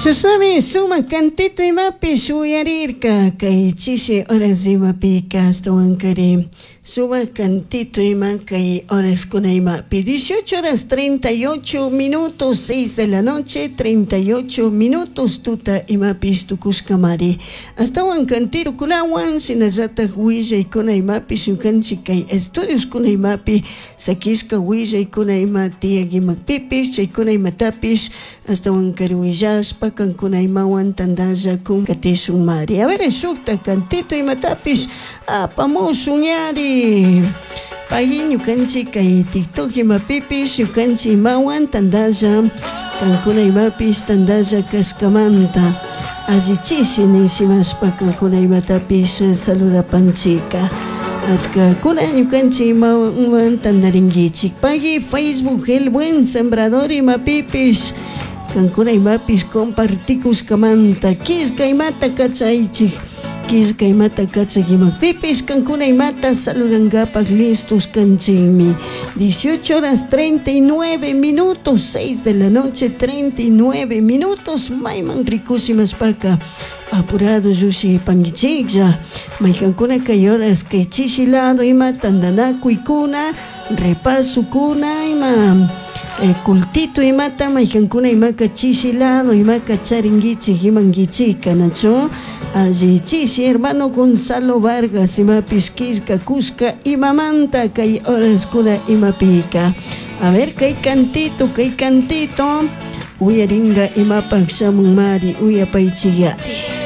Chashnami sumak cantito imapish uyarirka kay chishi horas imapika ashtawankari sumak cantito ima kay horaskuna imapi 18 horas 38 minutos, 6 de la noche 38 minutos tuta imapish tukushkamari. Ashtawan cantitokunawan shinallatak willaykuna imapish ñukanchik kay estudioskuna imapi sakishka willaykuna ima tiyak imakpipish chaykuna imatapish ashtawankari willashpa kankuna imawan tantalla katishun mari. A ver, shukta cantito imatapish apamushun yari. Pagui ñukanchik kay TikTok imapipish ñukanchik imawan tantalla kankuna imapish tantalla kashkamanta allichishi nishimashpa kankuna imatapish saludapanchika. Achkakuna ñukanchik imawan tantarinkichik. Pagui Facebook El Buen Sembrador imapipish kankuna imapish compartikushkamanta killka imata kachaychik. Killka imata kachak imapipish kankuna imata saludankapak listos kanchikmi. 18 horas 39 minutos, 6 de la noche 39 minutos, mayman rikushimashpaka apurado llukshipankichiklla. Maykankuna kay horas kay chishi lado ima tantanakuykuna, repasokuna ima cultito imata maykankuna imaka chishi lado imaka charinkichik imankichika nachu alli chishi hermano Gonzalo Vargas imapish killka kushka imamanta kay horaskuna imapika. A ver kay cantito uyaringa imapak shamunmari uyapaychiyari.